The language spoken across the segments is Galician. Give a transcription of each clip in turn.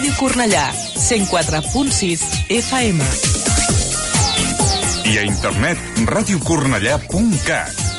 Ràdio Cornellà, 104.6 FM. I a internet, radiocornellà.cat.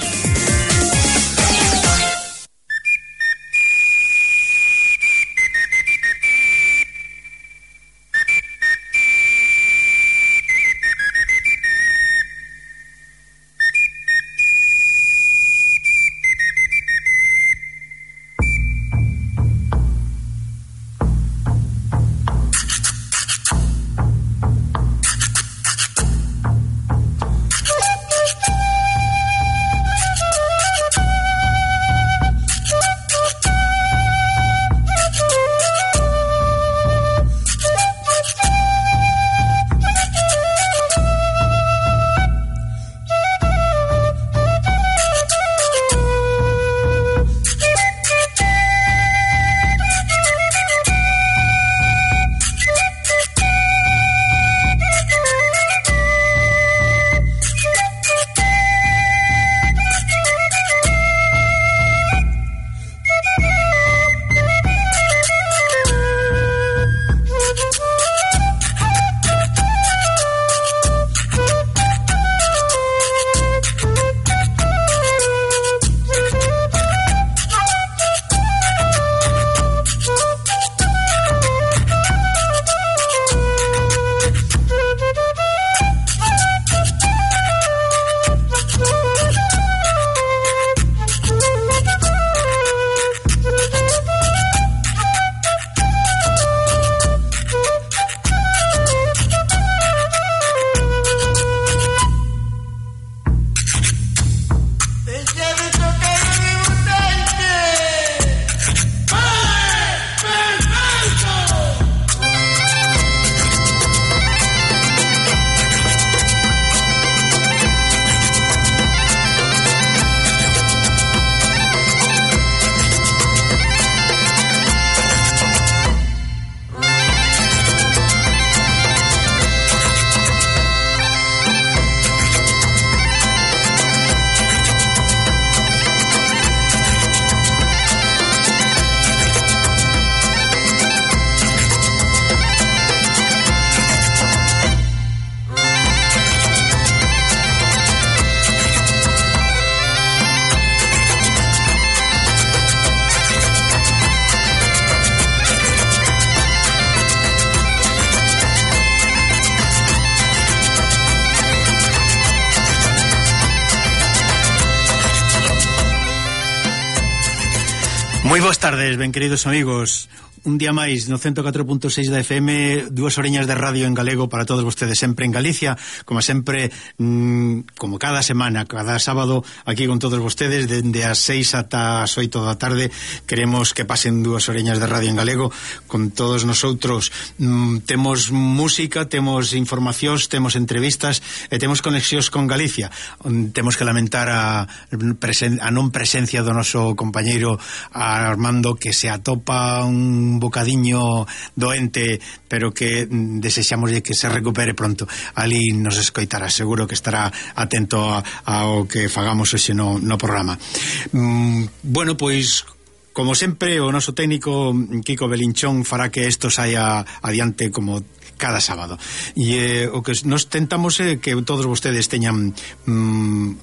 Moi boas tardes, ben queridos amigos. Un día máis no 104.6 da FM, 2 oreñas de radio en galego para todos vostedes, sempre en Galicia, como sempre, como cada semana, cada sábado, aquí con todos vostedes, dende as 6 ata as 8 da tarde. Queremos que pasen 2 oreñas de radio en galego con todos nosotros. Temos música, temos informacións, temos entrevistas e temos conexións con Galicia. Temos que lamentar a non presencia do noso compañeiro Armando, que se atopa un bocadiño doente, pero que desexamos que se recupere pronto. Ali nos escoitará, seguro que estará atento ao que fagamos hoxe no programa. Bueno, pois como sempre, o noso técnico Kiko Belinchón fará que isto saia adiante como cada sábado. E o que nos tentamos é que todos vostedes teñan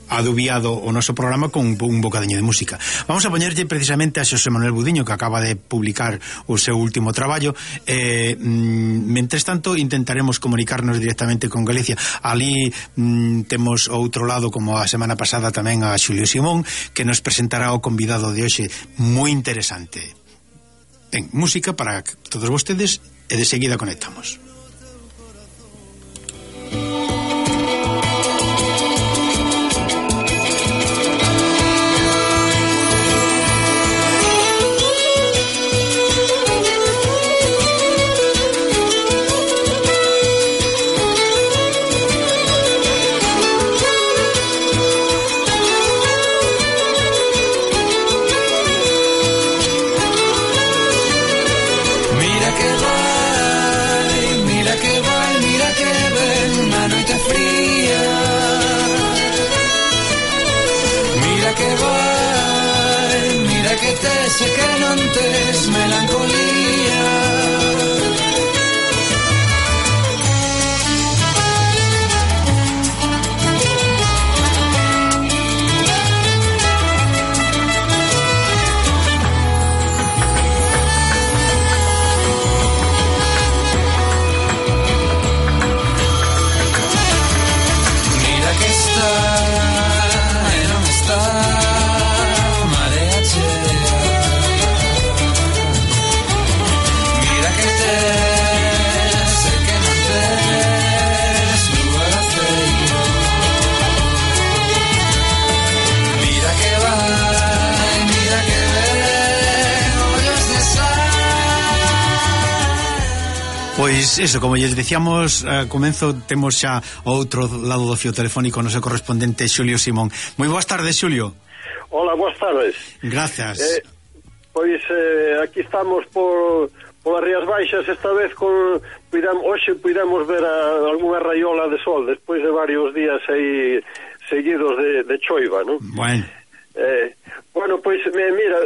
adubiado o noso programa con un bocadiño de música. Vamos a poñerlle precisamente a Xosé Manuel Budiño, que acaba de publicar o seu último traballo. Mentres tanto, intentaremos comunicarnos directamente con Galicia. Ali temos outro lado, como a semana pasada tamén, a Xulio Simón, que nos presentará o convidado de hoxe, moi interesante. Ben, música para todos vostedes e de seguida conectamos. Sé que non tes melancolía, Pois eso, como lles dicíamos comezo, temos xa ao outro lado do fio telefónico o noso correspondente Xulio Simón. Moi boas tardes, Xulio. Hola, boas tardes. Gracias. Pois aquí estamos polas Rías Baixas, esta vez hoxe puidemos ver algunha raiola de sol despois de varios días aí seguidos de choiva, non? Bueno, pois mira,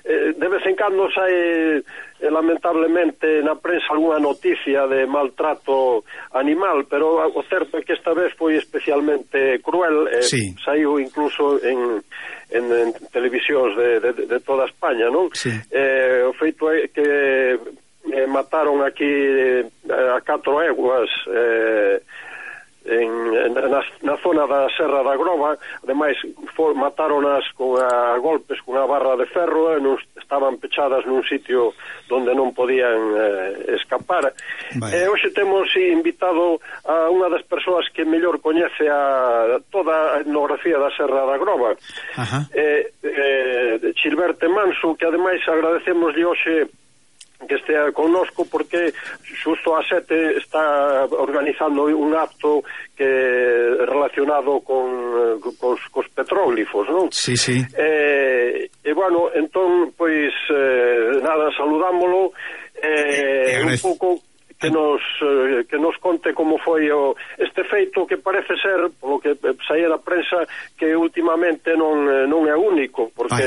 de vez en cando sai lamentablemente na prensa algunha noticia de maltrato animal, pero o certo é que esta vez foi especialmente cruel. Sí. Saiu incluso en televisións de toda España, non? Sí. O feito é que mataron aquí a 4 eguas na zona da Serra da Groba. Ademais mataronas a golpes con a barra de ferro, estaban pechadas nun sitio donde non podían escapar. Hoxe temos invitado a unha das persoas que mellor coñece toda a etnografía da Serra da Groba, Chilberte Manso, que ademais agradecemoslle hoxe que estea connosco, porque xusto a 7 está organizando un acto que relacionado cos petróglifos, non? Sí, sí. Bueno, entón, pois nada, saludámolo un pouco que nos conte como foi este feito, que parece ser, polo que saía da prensa, que últimamente non é único, porque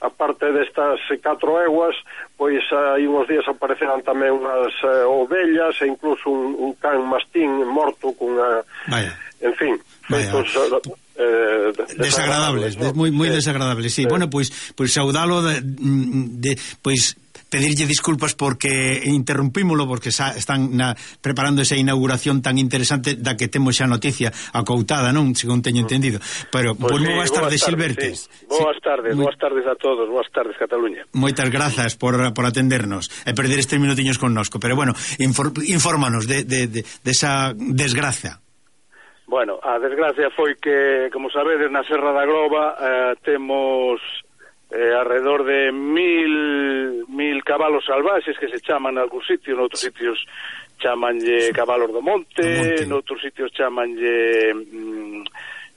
aparte destas 4 eguas, pois hai uns días apareceran tamén unhas ovellas e incluso un can mastín morto cunha... En fin, feitos... desagradables, ¿no? moi desagradables, sí. Bueno, pois saudalo pois pedirlle disculpas porque interrumpímolo, porque están preparando esa inauguración tan interesante da que temos xa noticia acoutada, non? Según teño entendido. Pero, pois moi boas tardes, Silbertes. Sí. Boas tardes a todos, boas tardes, Cataluña. Moitas grazas por atendernos e perder estes minutiños connosco. Pero, bueno, infórmanos de esa desgracia. Bueno, a desgracia foi que, como sabedes, na Serra da Groba temos alrededor de 1000 cabalos salvaxes que se chaman en algún sitio, noutros sitios chamanlle cabalos do monte, noutros sitios chamanlle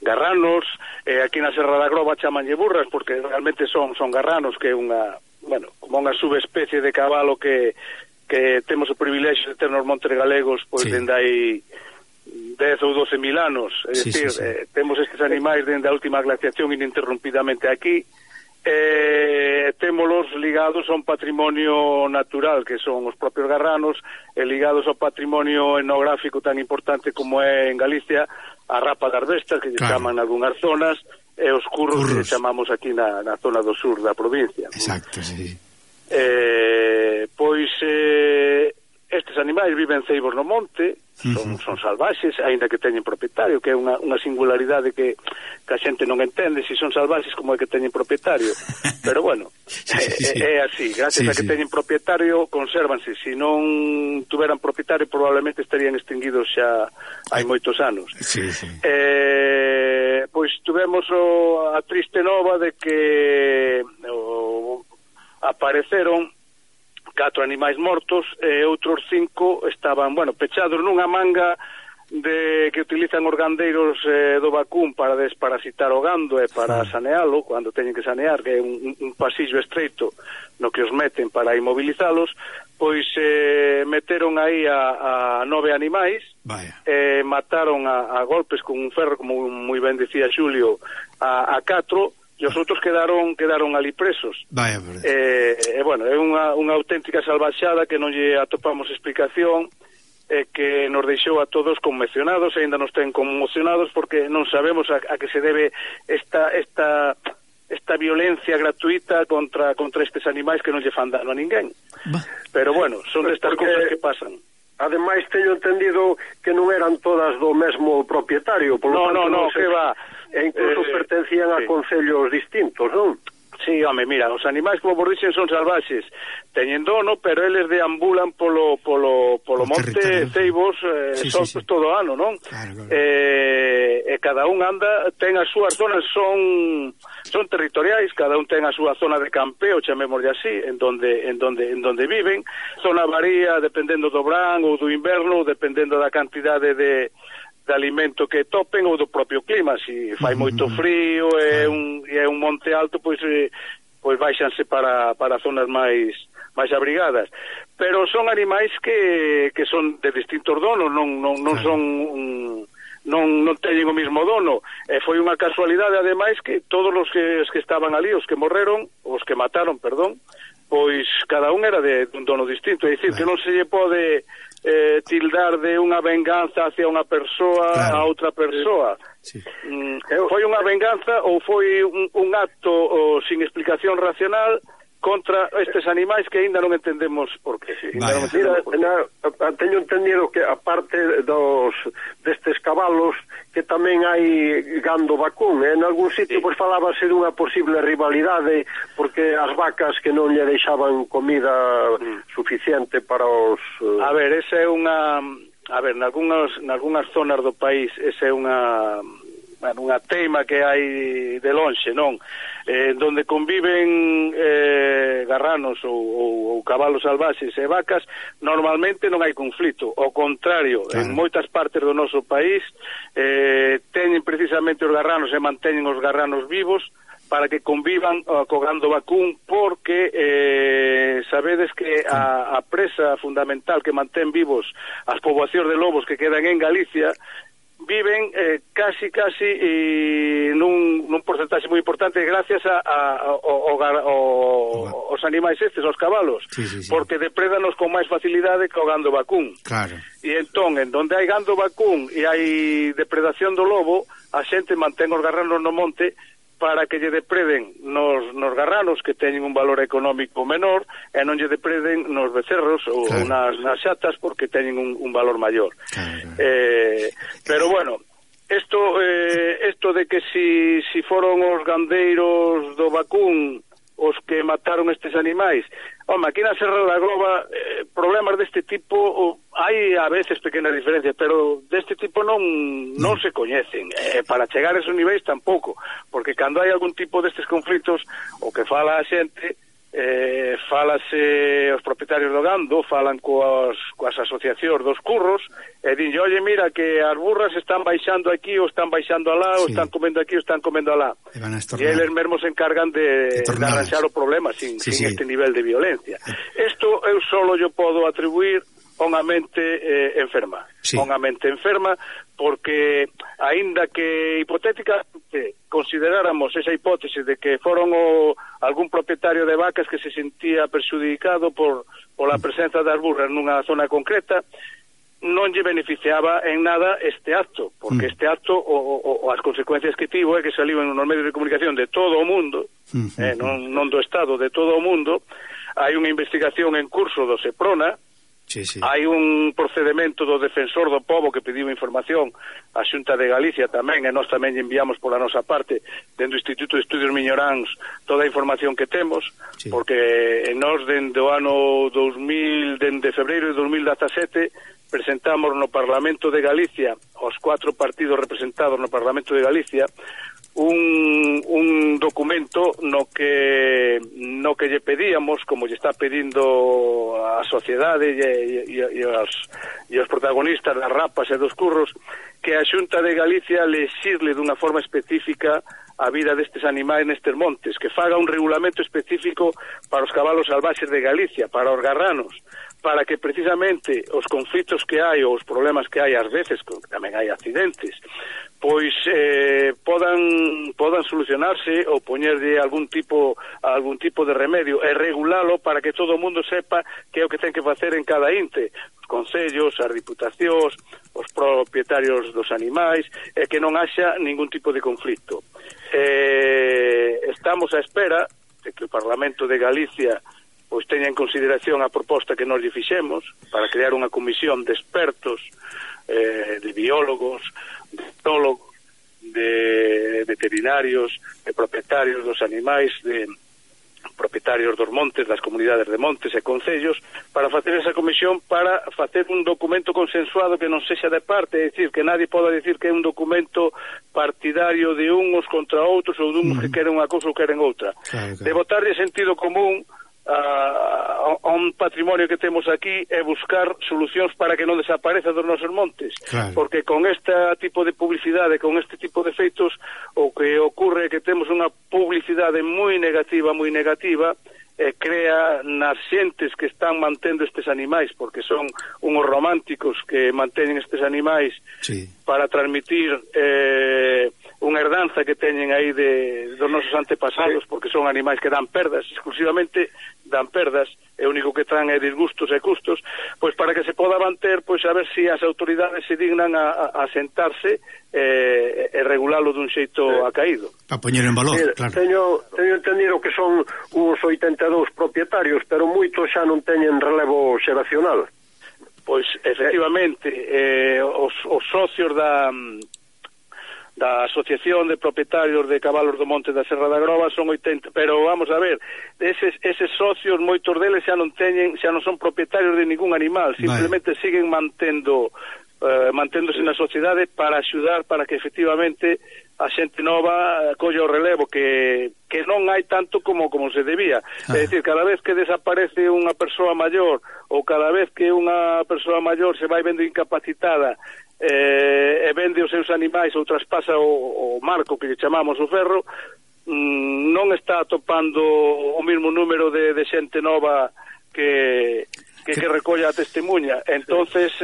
garranos, aquí na Serra da Groba chamanlle burras, porque realmente son garranos, que é como unha subespecie de cabalo que temos o privilexio de ter nos montes galegos pois dende aí 10 ou 12 mil anos, é dicir, temos estes animais dende a última glaciación ininterrumpidamente aquí. Témolos ligados a un patrimonio natural que son os propios garranos, e ligados ao patrimonio etnográfico tan importante como é en Galicia a rapa das bestas, que lle chaman en algunhas zonas, e os curros que chamamos aquí na zona do sur da provincia. Exacto, sí. Pois estes animais viven ceibos no monte, son salvaxes, aínda que teñen propietario, que é unha singularidade que a xente non entende, se son salvaxes como é que teñen propietario. Pero bueno, é así, gracias a que teñen propietario consérvanse. Se non tuveran propietario probablemente estarían extinguidos xa hai moitos anos. Pois tuvemos a triste nova de que apareceron 4 animais mortos e outros 5 estaban, pechados nunha manga que utilizan os gandeiros do vacún para desparasitar o gando e para sanealo, cando teñen que sanear, que é un pasillo estreito no que os meten para inmovilizalos. Pois meteron aí a 9 animais, mataron a golpes con un ferro, como moi ben dicía Xulio, a 4, e os outros quedaron ali presos. Bueno, é unha auténtica salvaxada que non lle atopamos explicación, e que nos deixou a todos conmocionados, e ainda nos ten conmocionados porque non sabemos a que se debe esta violencia gratuita contra estes animais que non lle fan dano a ninguén. Pero bueno, son destas cousas que pasan. Ademais, teño entendido que non eran todas do mesmo propietario, no, que va. E incluso pertencían a concellos distintos, non? Sí, home, mira, os animais, como vos dixen, son salvaxes, teñen dono, pero eles deambulan polo monte Ceibos todo o ano, non? Claro. E cada un anda, ten as súas zonas, son territoriais, cada un ten a súa zona de campeo, chamémoslle así, en donde viven. Zona varía dependendo do verán ou do inverno, dependendo da cantidade de alimento que topen ou do propio clima. Si fai moito frío e é un monte alto, pois baixanse para zonas máis abrigadas. Pero son animais que son de distintos donos, non son non teñen o mismo dono. Foi unha casualidade, ademais, que todos os que estaban ali, os que morreron, os que mataron, perdón, pois cada un era de un dono distinto. É dicir, que non se lle pode tildar de unha venganza hacia unha persoa a outra persoa. Sí. Foi unha venganza ou foi un acto sin explicación racional contra estes animais que aínda non entendemos por qué. Teño entendido que aparte destes cabalos que tamén hai gando vacún, en algún sitio pois falábase dunha posible rivalidade porque as vacas que non lle deixaban comida suficiente para os... A ver, esa é unha... A ver, nalgúnas zonas do país esa é unha teima que hai de lonxe, non? Donde conviven garranos ou cabalos salvaxes e vacas, normalmente non hai conflito. Ao contrario, en moitas partes do noso país teñen precisamente os garranos e manteñen os garranos vivos para que convivan co gando vacún, porque sabedes que a presa fundamental que mantén vivos as poboacións de lobos que quedan en Galicia viven casi nun porcentaxe moi importante gracias aos animais estes, aos cabalos, porque deprédanos con máis facilidade que o gando vacún. Claro. E entón, en donde hai gando vacún e hai depredación do lobo, a xente mantén os garranos no monte para que lle depreden nos garranos que teñen un valor económico menor e non lle depreden nos becerros ou nas xatas porque teñen un valor maior. Pero bueno, isto de que si foron os gandeiros do vacún os que mataron estes animais, home, aquí na Serra da Groba problemas deste tipo hai a veces pequenas diferencias, pero deste tipo non se coñecen. Para chegar a esos niveis tampouco, porque cando hai algún tipo destes conflitos, o que fala a xente, falase os propietarios do gando, falan coas asociacións dos curros e dinlle, oye, mira que as burras están baixando aquí ou están baixando alá ou están comendo aquí ou están comendo alá, e eles mesmos se encargan de arranxar o problema sin este nivel de violencia. Isto eu solo yo podo atribuir a unha mente enferma, unha mente enferma, porque aínda que hipotéticamente consideráramos esa hipótese de que foron algún propietario de vacas que se sentía perxudicado pola presenza das burras nunha zona concreta, non lle beneficiaba en nada este acto, porque este acto as consecuencias que tivo é que saliu nos medios de comunicación de todo o mundo, non do Estado, de todo o mundo. Hai unha investigación en curso do Seprona. Hai un procedimento do defensor do pobo que pediu información á Xunta de Galicia tamén, e nós tamén enviamos pola nosa parte dentro do Instituto de Estudios Miñoráns toda a información que temos, porque nós dende o ano 2000, dende febreiro de 2017 presentamos no Parlamento de Galicia, os 4 partidos representados no Parlamento de Galicia, un documento no que lle pedíamos, como lle está pedindo a sociedade e os protagonistas das rapas e dos curros, que a Xunta de Galicia lexisle dunha forma específica a vida destes animais nestes montes, que faga un regulamento específico para os cabalos salvaxes de Galicia, para os garranos, para que precisamente os conflitos que hai ou os problemas que hai ás veces, que tamén hai accidentes, pois podan solucionarse ou poñerlle algún tipo de remedio e regulalo para que todo o mundo sepa que é o que ten que facer en cada ente, os concellos, as diputacións, os propietarios dos animais, e que non haxa ningún tipo de conflito. Estamos á espera de que o Parlamento de Galicia pois teña en consideración a proposta que nos lle fixemos para crear unha comisión de expertos, de biólogos, de etólogos, de veterinarios, de propietarios dos animais, de propietarios dos montes, das comunidades de montes e concellos, para facer esa comisión, para facer un documento consensuado que non sexa de parte, é dicir, que nadie poda dicir que é un documento partidario de uns contra outros ou de uns que queren unha cousa ou queren outra. Claro. De botarlle sentido común a un patrimonio que temos aquí é buscar solucións para que non desapareza dos nosos montes, claro. Porque con este tipo de publicidade, con este tipo de feitos, o que ocorre é que temos unha publicidade moi negativa, crea nas xentes que están mantendo estes animais, porque son unhos románticos que manteñen estes animais, sí, para transmitir unha herdanza que teñen aí dos nosos antepasados, porque son animais que dan perdas, exclusivamente dan perdas, e o único que traen é disgustos e custos, pois para que se poda manter, pois a ver se as autoridades se dignan a sentarse e regulalo dun xeito acaído. Para poñer en valor, claro. Teño entendido que son uns 82 propietarios, pero moitos xa non teñen relevo xeracional. Pois, efectivamente, os socios da Asociación de Propietarios de Cabalos do Monte da Serra da Groba son 80, pero vamos a ver, eses socios, moitos deles xa non son propietarios de ningún animal, simplemente siguen manténdose na sociedade para axudar, para que efectivamente a xente nova colle o relevo que non hai tanto como se debía. É dicir, cada vez que desaparece unha persoa maior ou cada vez que unha persoa maior se vai vendo incapacitada e vende os seus animais ou traspasa o marco que lle chamamos o ferro, non está atopando o mesmo número de xente nova que recolla a testemunha. Entonces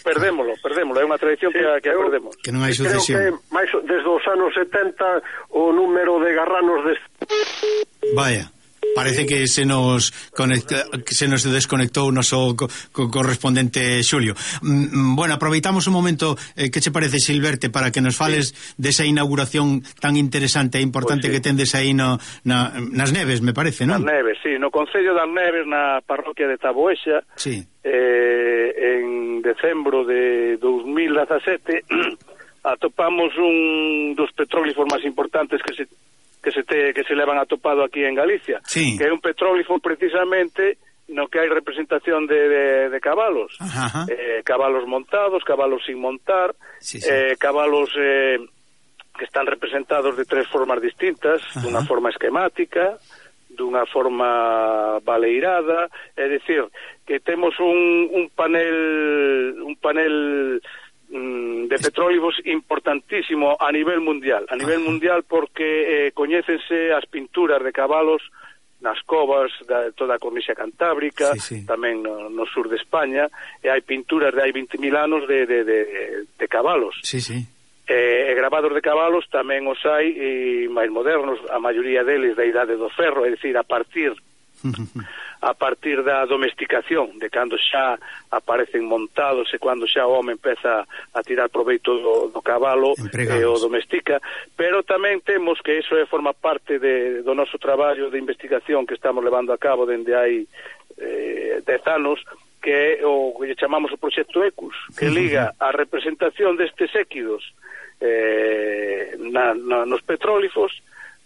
perdémolo, é unha tradición que perdemos. Que non hai sucesión. Creo que máis desde os anos 70 o número de garranos Vaya, parece que se nos desconectou o noso correspondente Xulio. Bueno, aproveitamos un momento, que che parece, Silverte, para que nos fales desa inauguración tan interesante e importante que tendes aí nas Neves, me parece, non? Nas Neves, sí, no Concello das Neves, na parroquia de Taboexa, sí. En decembro de 2017 atopamos un dos petróglifos máis importantes que se levan atopado aquí en Galicia, sí, que é un petróglifo precisamente no que hai representación de cabalos, cabalos montados, cabalos sin montar, sí. Cabalos que están representados de tres formas distintas, dunha forma esquemática, dunha forma baleirada, é dicir, que temos un panel de petróglifos importantísimo a nivel mundial, porque coñécense as pinturas de cabalos nas covas de toda a cornixa cantábrica, sí. Tamén no sur de España, e hai pinturas de hai 20.000 anos de cabalos. Sí, sí. E grabados de cabalos tamén os hai máis modernos, a maioría deles da idade do ferro, é dicir, a partir da domesticación, de cando xa aparecen montados e cando xa o home empeza a tirar proveito do cabalo e o domestica, pero tamén temos que iso forma parte do noso traballo de investigación que estamos levando a cabo dende hai 10 anos, que é o que chamamos o proxecto ECUS, que liga a representación destes équidos nos petróglifos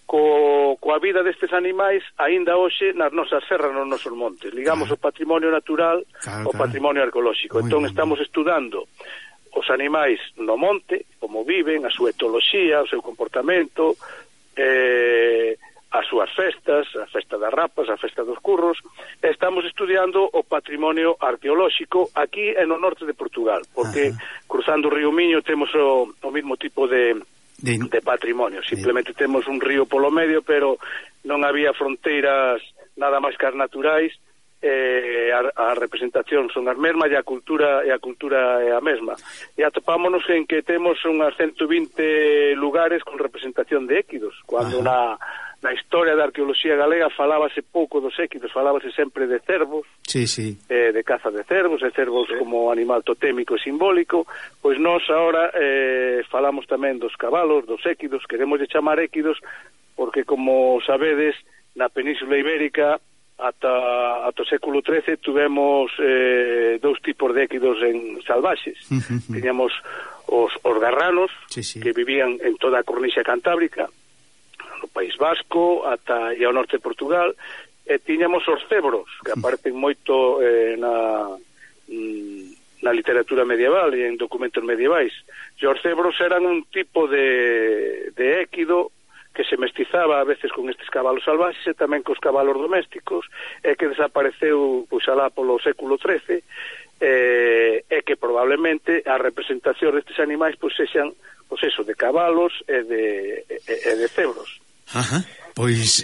coa vida destes animais aínda hoxe nas nosas serras, nos nosos montes. Ligamos o patrimonio natural ao patrimonio arqueolóxico. Entón estamos estudando os animais no monte, como viven, a súa etoloxía, o seu comportamento, as súas festas, a festa das rapas, a festa dos curros. Estamos estudiando o patrimonio arqueolóxico aquí no norte de Portugal, porque cruzando o río Miño temos o mismo tipo de patrimonio. Simplemente temos un río polo medio, pero non había fronteiras nada máis que as naturais, a representación son as mesmas e a cultura é a mesma. E atopámonos en que temos unhas 120 lugares con representación de équidos, cando na historia da arqueoloxía galega falábase pouco dos équidos, falábase sempre de cervos, sí, sí. De caza de cervos, e cervos como animal totémico e simbólico. Pois nós agora falamos tamén dos cabalos, dos équidos, queremos chamar équidos porque, como sabedes, na Península Ibérica ata o século XIII tuvemos dous tipos de équidos salvaxes. Tiñamos os garranos, sí, sí, que vivían en toda a cornixa cantábrica, o País Vasco ata e ao norte de Portugal, e tiñamos os cebros, que aparecen moito na literatura medieval e en documentos medievais. E os cebros eran un tipo de équido que se mestizaba a veces con estes cabalos salvaxes e tamén cos cabalos domésticos, e que desapareceu pois alá polo século XIII, e que probablemente a representación destes animais pois sexan pois eso, de cabalos e de cebros. Ajá. Pois,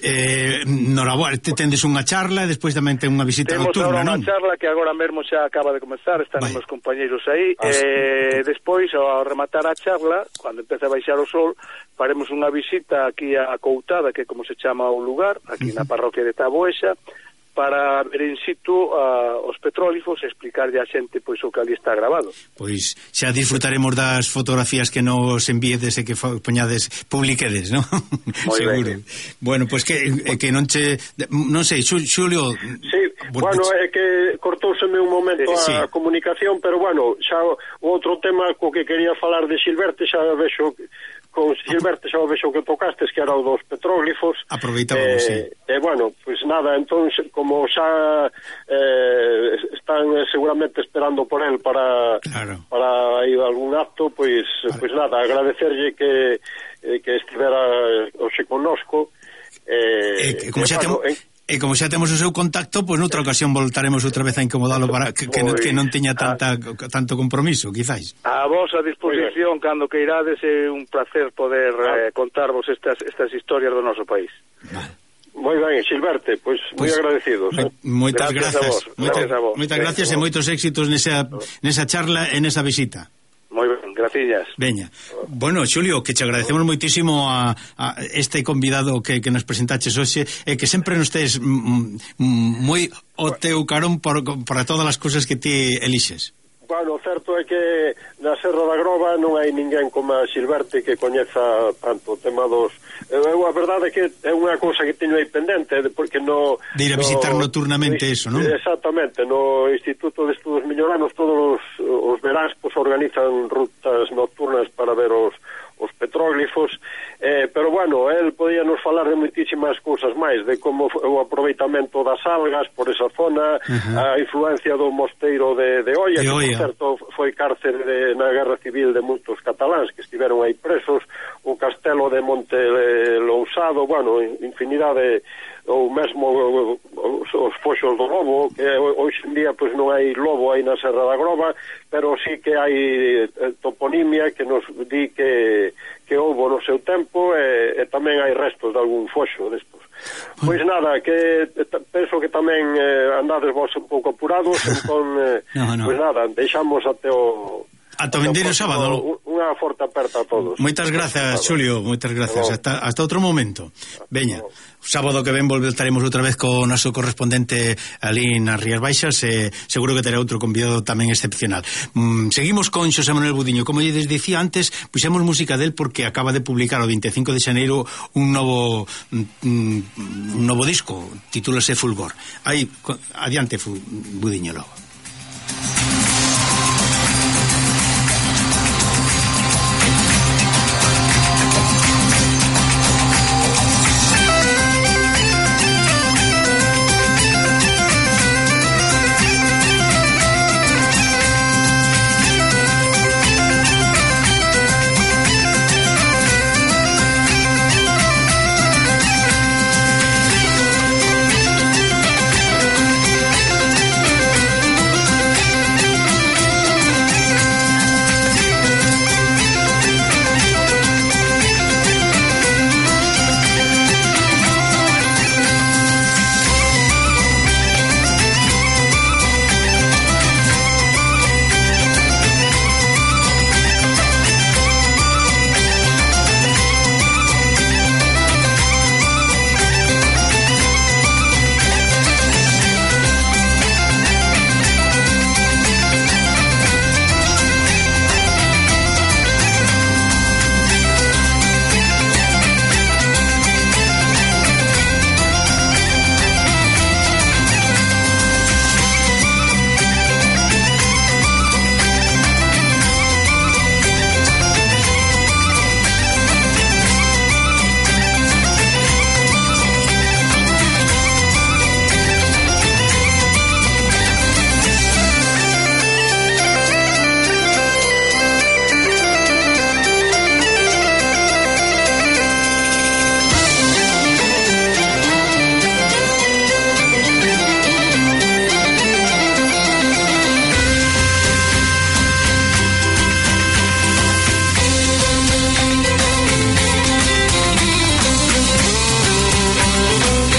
noraboa, tendes unha charla e despois tamén ten unha visita nocturna, non? Temos unha charla que agora mesmo xa acaba de comenzar, están os meus compañeiros aí, e despois, ao rematar a charla, cando empeza a baixar o sol, faremos unha visita aquí a Coutada, que é como se chama o lugar, aquí na parroquia de Taboexa, para ver in situ os petróglifos e explicarlle a xente pois o que ali está grabado. Pois xa disfrutaremos das fotografías que nos envíedes e que poñades, publiquedes, non? Seguro. Bueno, pois que non che... Non sei, Xulio... Sí, bueno, é que cortouseme un momento a comunicación, pero bueno, xa o outro tema co que quería falar de Silverte, xa vexo... Con Silverte xa o vexo que tocastes, que era o dos petróglifos. Aproveitábamos, sí. Bueno, pues nada, entón, como xa están seguramente esperando por él para ir a algún acto, pues nada, agradecerlle que estivera hoxe connosco. Como xa temos o seu contacto, pois noutra ocasión voltaremos outra vez a incomodalo para que non teña tanto compromiso, quizáis. A vosa disposición, cando que irades, é un placer poder contarvos estas historias do noso país. Vale. Moi ben, Silverte, pois moi agradecidos. Moitas grazas. Moitas gracias e moitos éxitos nesa charla e nesa visita. Moi ben, graciñas. Veña. Bueno, Xulio, que te agradecemos moitísimo a este convidado que nos presentaches hoxe, e que sempre nos tes moi o teu carón para todas as cousas que ti elixes. Bueno, o certo é que na Serra da Groba non hai ninguén como a Silverte que coñeza tanto o tema dos... a verdade é que é unha cousa que teño aí pendente, porque no... De ir a visitar nocturnamente eso, non? Exactamente, no Instituto de Estudos Milloranos todos os veráns pues, organizan rutas nocturnas para ver os petróglifos, pero bueno, el podía nos falar de moitísimas cousas máis, de como o aproveitamento das algas por esa zona, a influencia do mosteiro de Oia, que por certo foi cárcere na Guerra Civil de moitos cataláns que estiveron aí presos, o castelo de Monte Lousado, bueno, infinidade, ou mesmo os foxos do lobo, que hoxe en día pois non hai lobo aí na Serra da Groba, pero sí que hai toponimia que nos di que houbo no seu tempo, e tamén hai restos de algún foxo destos. Pois nada, que penso que tamén andades vos un pouco apurados, entón, pois nada, deixamos até o... Ata o vindeiro sábado. Unha forte aperta a todos. Moitas grazas, Xulio, moitas grazas. Hasta outro momento. Veña, sábado que ven voltaremos outra vez co noso correspondente ali nas Rías Baixas, e seguro que terá outro convidado tamén excepcional. Seguimos con Xosé Manuel Budiño. Como lles dicía antes, puxemos música del porque acaba de publicar o 25 de xaneiro un novo disco, titúlase Fulgor. Aí, adiante, Budiño logo.